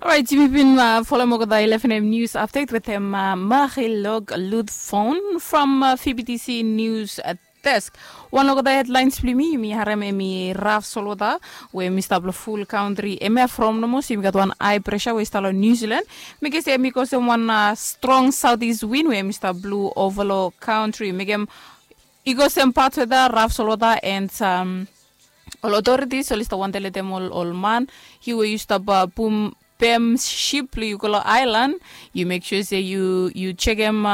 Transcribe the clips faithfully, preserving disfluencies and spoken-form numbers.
Orait, yumi bin folem olgeta eleven a.m. nius apdet wetem Marilog Ludfon from Fibitisi Nius Desk. Wan long olgeta hedlaens blong yumi yumi harem hemi raf solwota we hemi stap long ful kantri. Hemia from nomo se yumi gat wan hae presa we i stap long Niu Silan. Mekem se hemi kosem wan strong saotis win we hemi stap blu ova long kantri. Mekem i kosem pat weta raf solwota and ol otoritis oli stap wantem letem ol man yu we yu stap bum pem sip blong yu go long aelan. Yu mek sua se yu yu sekem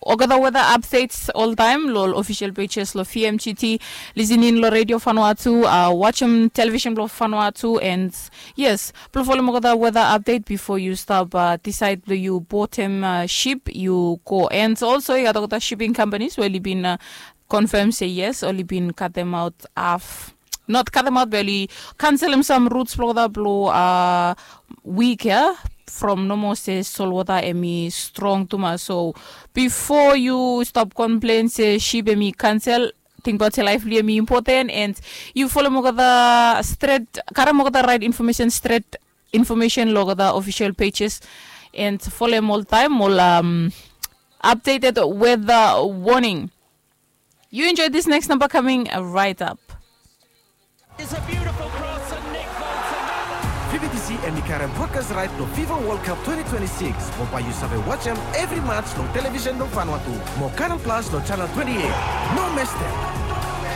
olgeta weta apdets oltaem long ol ofisel pejes long vmgt, lisening long redio fanua tu, wajem televisen blong fanua tu and yes, blong folem olgeta weta apdet bifo yu stap disaed blong yu botem sip yu go. And olso i gat olgeta siping kampanis we oli bin konfem se yes oli bin katemaot haf, not katemaot be oli kanselem sam ruts blong olgeta blong wik ya from nomo se solwota hemi strong tumas. So bifo yu stap komplen se sip hemi kansel, tingbaot se laef blong yu hemi impoten and yu folem olgeta stret, karem olgeta raet infomesen stret, infomesen long olgeta ofisel pejes and folem oltaem ol apdeted weta woning. You enjoy this next number coming right up. Fibitisi hemi karem brodkas raet long fifa wol kap twenty twenty-six mo bae yu save wajem evri mats long televisen blong fanua tu mo kanal plas long janel twenty-eight. No mestem.